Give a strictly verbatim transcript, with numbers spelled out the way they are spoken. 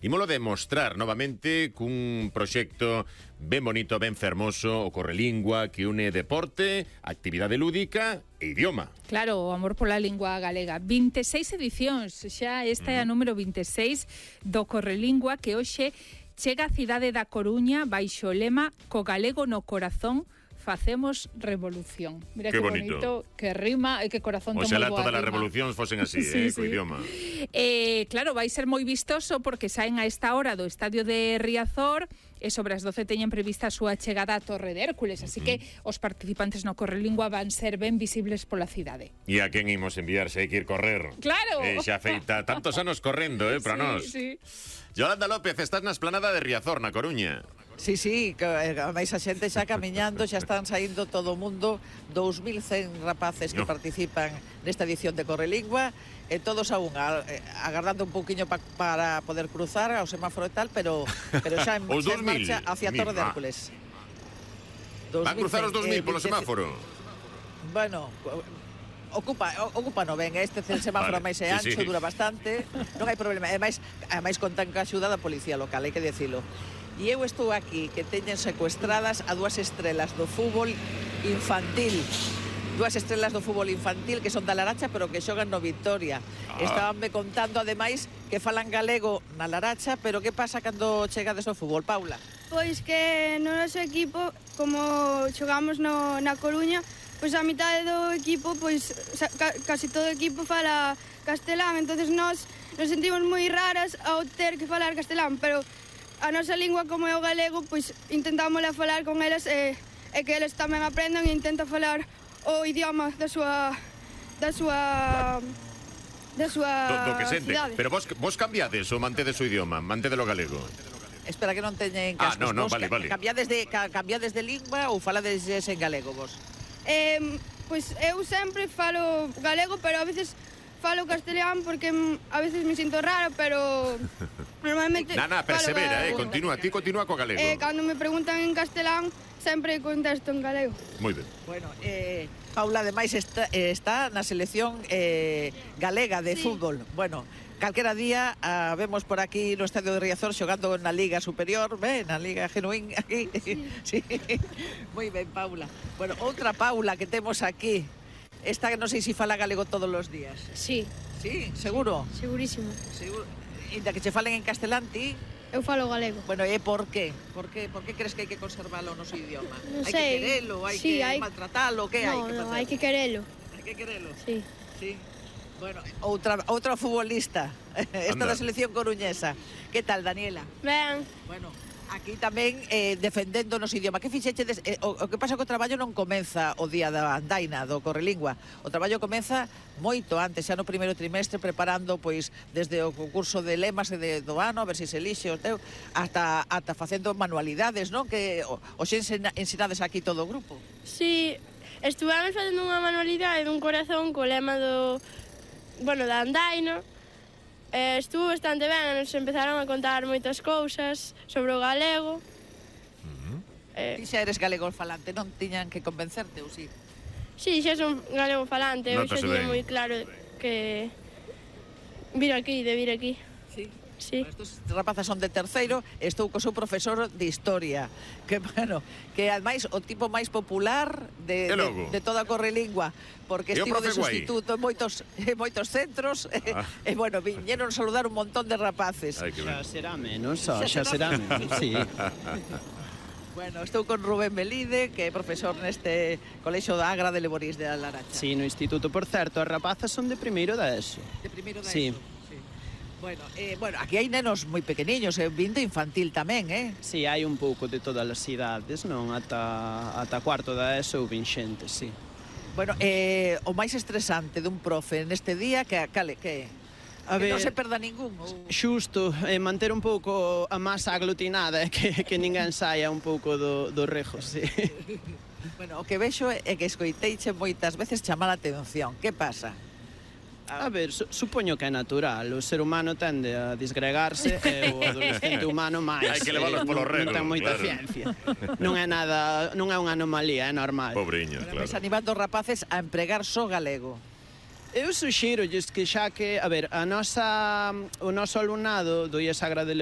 Imolo demostrar novamente cun proxecto ben bonito, ben fermoso, o Correlingua, que une deporte, actividade lúdica e idioma. Claro, o amor pola lingua galega. vinte e seis edicións, xa esta é a número vinte e seis do Correlingua, que hoxe chega á cidade da Coruña baixo o lema Co galego no corazón facemos revolución. Mira que, que bonito. bonito, que rima e que corazón ten moi boa rima. Oxalá todas as revolucións fosen así, sí, eh, sí. Co idioma. Eh, claro, vai ser moi vistoso porque saen a esta hora do estadio de Riazor e sobre as doce teñen prevista a súa chegada á Torre de Hércules, así uh -huh. que os participantes no Correlingua van ser ben visibles pola cidade. E a quen imos enviar se hai que ir correr? Claro! Eh, xa feita tantos anos correndo, eh, para sí, nós. Sí. Yolanda López, estás na esplanada de Riazor, na Coruña. Sí, sí, que máis a xente xa camiñando, xa están saindo todo o mundo, dous mil cen rapaces que no. participan nesta edición de Correlingua, e todos a unha, agardando un pouquiño pa, para poder cruzar ao semáforo e tal, pero, pero xa en, xa en marcha hacia Torre de Hércules. Van cruzar os dos mil polo semáforo? Bueno, ocupa, ocupa no ben, este semáforo vale, máis é ancho, sí, sí. dura bastante, non hai problema, e máis, máis contan ca axuda da policía local, hai que dicilo. E eu estou aquí, que teñen secuestradas a dúas estrelas do fútbol infantil. Dúas estrelas do fútbol infantil que son da Laracha, pero que xogan no Victoria. Ah. Estabanme contando, ademais, que falan galego na Laracha, pero que pasa cando chegades ao fútbol, Paula? Pois que no noso equipo, como xogamos no, na Coruña, pois a mitade do equipo, pois ca, casi todo o equipo fala castelán, entonces nós nos sentimos moi raras ao ter que falar castelán, pero a nosa lingua, como é o galego, pois intentamos a falar con eles e, e que eles tamén aprendan e intentan falar o idioma da súa da súa da súa do, do que sente. cidade. Pero vos, vos cambiades ou mantedes o idioma, mantedes o galego? Espera que non teñen cascos. Ah, no, no, vos vale, vale. Cambiades de, cambiades de lingua ou falades en galego vos? Eh, pois eu sempre falo galego, pero a veces falo castelán porque a veces me sinto raro, pero normalmente... Nana, persevera, eh, continúa, ti continúa co galego. Eh, cando me preguntan en castelán, sempre contesto en galego. Moi ben. Bueno, eh, Paula, ademais, está, eh, está na selección eh, galega de sí. fútbol. Bueno, calquera día uh, vemos por aquí no estadio de Riazor xogando na Liga Superior, ben, na Liga Genuín, aquí. Sí. sí. Moi ben, Paula. Bueno, outra Paula que temos aquí. Esta non sei se fala galego todos os días. Sí. Sí, seguro? Segurísimo. Seguro. Inda que che falen en castelán, ti? Eu falo galego. Bueno, e por qué? Por qué, por que crees que hai que conservalo no noso idioma? Non hai sei. que querelo, hai sí, que hai... maltratalo, que no, hai que facer? No, hai que querelo. Hai que querelo? Sí. Sí. Bueno, outra, outra futbolista, esta Anda. da selección coruñesa. Que tal, Daniela? Ben. Bueno, aquí tamén eh, defendendo o noso idioma. Que fixechedes? Eh, o, o que pasa que o traballo non comeza o día da andaina, do Correlingua. O traballo comeza moito antes, xa no primeiro trimestre, preparando, pois, desde o concurso de lemas e de, do ano, a ver se se elixe o teu, hasta, hasta facendo manualidades, non? Que o, o xe ensinades aquí todo o grupo. Si, sí, estuvamos facendo unha manualidade dun corazón co lema do... bueno, da andaina. Eh, estuvo bastante ben, nos empezaron a contar moitas cousas sobre o galego. Uh-huh. eh, Ti xa eres galego falante, non tiñan que convencerte, ou si? Si, xa son galego falante, eu xa tiña moi claro que vir aquí, de vir aquí. Sí. Sí. Bueno, estos rapazas son de terceiro, estou co seu profesor de historia, que, bueno, que ademais o tipo máis popular de, de, de toda a Correlingua, porque estivo de sustituto en moitos, en moitos centros, ah. e, e, bueno, viñeron saludar un montón de rapaces. Ay, xa será menos, xa, xa será menos, sí. Bueno, estou con Rubén Melide, que é profesor neste colexo da Agra de Leborís de Laracha. Sí, no instituto, por certo, as rapazas son de primeiro da ESO. De primeiro da sí. ESO. Bueno, eh, bueno, aquí hai nenos moi pequeniños, eh, vindo infantil tamén, eh? Si, sí, hai un pouco de todas as idades, non? Ata, ata cuarto da ESO ou vinxente, si. Sí. Bueno, eh, o máis estresante dun profe neste día, que, cale, que A que ver, non se perda ningún. Ou... Xusto, eh, manter un pouco a masa aglutinada, eh, que, que ninguén saia un pouco do, do rejo, si. Sí. Bueno, o que vexo é que escoiteiche moitas veces chamar a atención. Que pasa? A ver, su, supoño que é natural. O ser humano tende a disgregarse e o adolescente humano máis. Hai que leválos polo rego. Non ten moita claro. ciencia. Non é nada, non é unha anomalía, é normal. Pobriños, claro. claro. Ves animando os rapaces a empregar só galego. eu suxírolles que xa que, a ver, a nosa, o noso alumnado do I E S Sagrada de